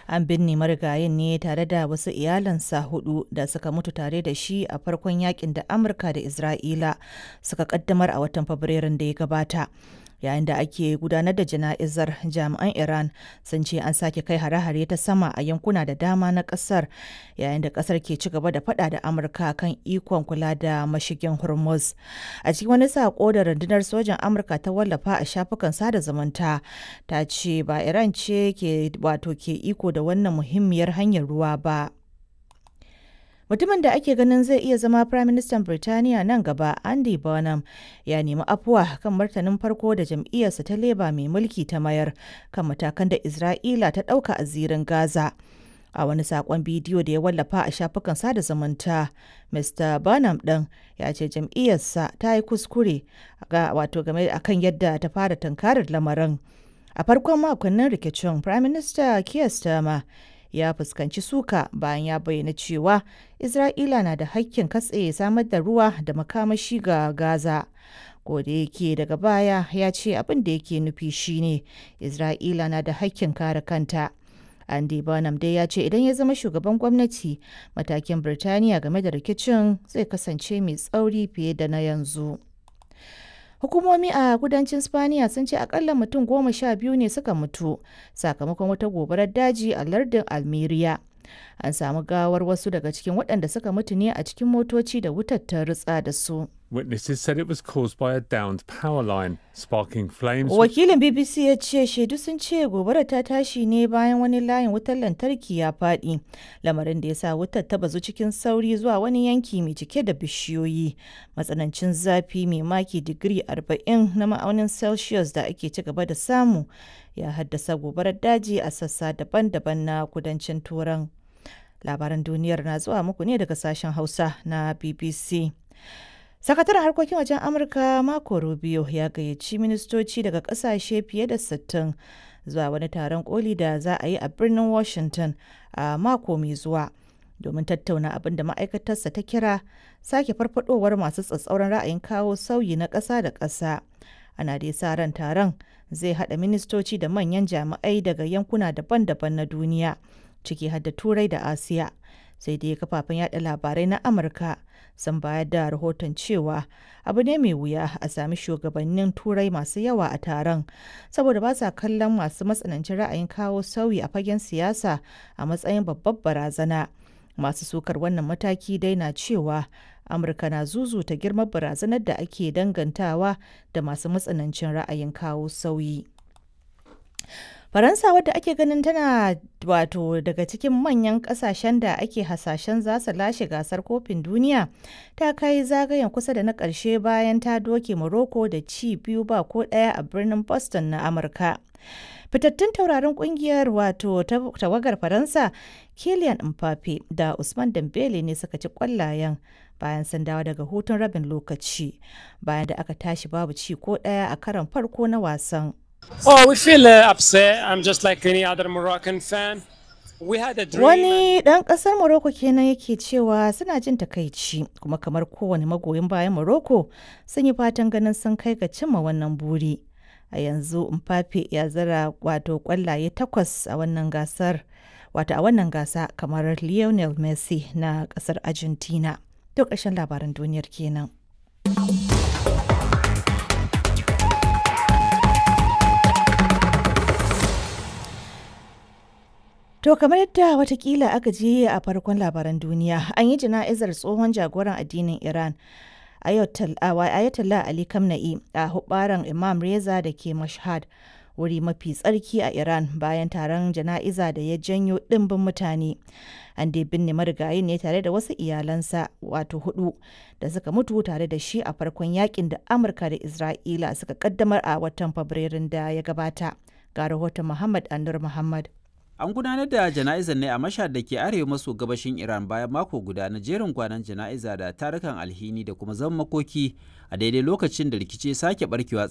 An binne marigayin ne tare da wasu iyalansa hudu da suka mutu tare da shi a farkon yakin da Amurka da Isra'ila suka kaddamar a watan Fabrairun da ya gabata. Yayin da ake gudanar da jana'izar, jami'an Iran sun ce an sake kai hare-hare ta sama a yankuna da dama na kasar, yayin da kasar ke ci gaba da fada da Amurka kan ikon kula da mashigin Hormuz. A cikin wani sako da rundunar sojan Amurka ta wallafa a shafukan sada zumunta, ta ce ba Iran ce ke wato ke iko da wannan muhimmiyar hanyar ruwa ba. Mutumin da ake ganin zai iya zama Firaministan Birtaniya nan gaba, Andy Burnham, ya nemi afuwa kan martanin farko da jam'iyyarsa ta Labour mai mulki ta mayar kan matakan da Isra'ila ta ɗauka a zirin Gaza. A wani saƙon bidiyo da ya wallafa a shafukan sada zumunta, Mr. Burnham ɗin ya ce jam'iyyarsa ta yi kuskure wato game akan yadda ta fara tunkarar lamarin. A farkon makonnin rikicin, Firaminista Keir Starmer ya fuskanci suka bayan ya bayyana cewa Isra'ila na da hakkin katse samar da ruwa da makamashi ga Gaza. Da yake daga baya ya ce abin da yake nufi shine Isra'ila na da hakkin kare kanta. Andy Burnham dai ya ce idan ya zama shugaban gwamnati, matakin Birtaniya game da rikicin zai kasance mai tsauri fiye da na yanzu. Hukumomi a kudancin Spaniya sun ce akalla mutum 12 ne suka mutu sakamakon wata gobarar daji a lardin Almeria. An samu gawar wasu daga cikin waɗanda suka mutu ne a cikin motoci da wutar ta rutsa da su. Witnesses said it was caused by a downed power line, sparking flames. Wakilin BBC ya ce shaidu sun ce gobarar ta tashi ne bayan wani layin wutar lantarki ya faɗi, lamarin da ya sa wutar ta bazu cikin sauri zuwa wani yanki mai cike da bishiyoyi. Matsanancin zafi mai maki digiri 40 na ma'aunin Celsius da ake ci gaba da samu ya haddasa gobarar daji a sassa daban-daban na kudancin Turan. Labaran duniyar na zuwa muku ne daga sashen Hausa na BBC. Sakataren harkokin wajen Amurka Marco Rubio ya gayyaci ministoci daga kasashe fiye da 60 zuwa wani taron koli da za a yi a birnin Washington a mako mai zuwa domin tattauna abin da ma'aikatarsa ta kira sake farfadowar masu tsatsauran ra'ayin kawo sauyi na ƙasa da ƙasa. Ana dai sa ran taron zai haɗa ministoci da manyan jami'ai daga yankuna daban-daban na duniya, ciki har da Turai da Asiya. Sai dai kafafen yada labarai na Amurka sun bayar da rahoton cewa abu ne mai wuya a sami shugabannin Turai masu yawa a taron, saboda ba sa kallon masu matsanancin ra'ayin kawo sauyi a fagen siyasa a matsayin babbar barazana. Masu sukar wannan mataki dai na cewa Amurka na zuzuta girman barazanar da ake dangantawa da masu matsanancin ra'ayin kawo sauyi. Faransa, wadda ake ganin tana wato daga cikin manyan kasashen da ake hasashen za su lashe gasar kofin duniya, ta kai zagayen kusa da na ƙarshe bayan ta doke Morocco da ci 2 ba ko 1 a birnin Boston na Amurka. Fitattun taurarin kungiyar, wato tawagar Faransa, Kylian Mbappe da Usman Dembele ne suka ci kwallayen bayan sun dawo daga hutun rabin lokaci, bayan da aka tashi babu ci ko ɗaya a karon farko na wasan. Oh, we feel upset. I'm just like any other Moroccan fan. We had a dream. Wani ɗan ƙasar Morocco kenan yake cewa suna jin takaici, kuma kamar kowane magoyin bayan Morocco sun yi fatan ganin sun kai ga cimma wannan buri. A yanzu Mbappe ya zira wato kwallaye takwas a wannan gasar, wato a wannan gasa, kamar Lionel Messi na ƙasar Argentina. To, ƙarshen labaran duniyar kenan. To, kamar yadda watakila aka ji a farkon labaran duniya, an yi jana'izar tsohon jagoran addinin Iran, Ayatollah Ali Khamenei, a hubbaran Imam Reza da ke Mashhad, wuri mafi tsarki a Iran, bayan taron jana'iza da ya janyo ɗimbin mutane. An dai binne marigayin ne tare da wasu iyalansa wato hudu da suka mutu tare da shi a farkon yakin da Amurka da Isra'ila suka kaddamar a watan Fabrairun da ya gabata. Ga rahoton Muhammad Anur Muhammad. An gudanar da jana'izar ne a Mashhad da ke arewa maso gabashin Iran bayan mako guda na jerin gwanon jana'iza da tarukan alhini da kuma zaman makoki a daidai lokacin da rikici sake barkewa.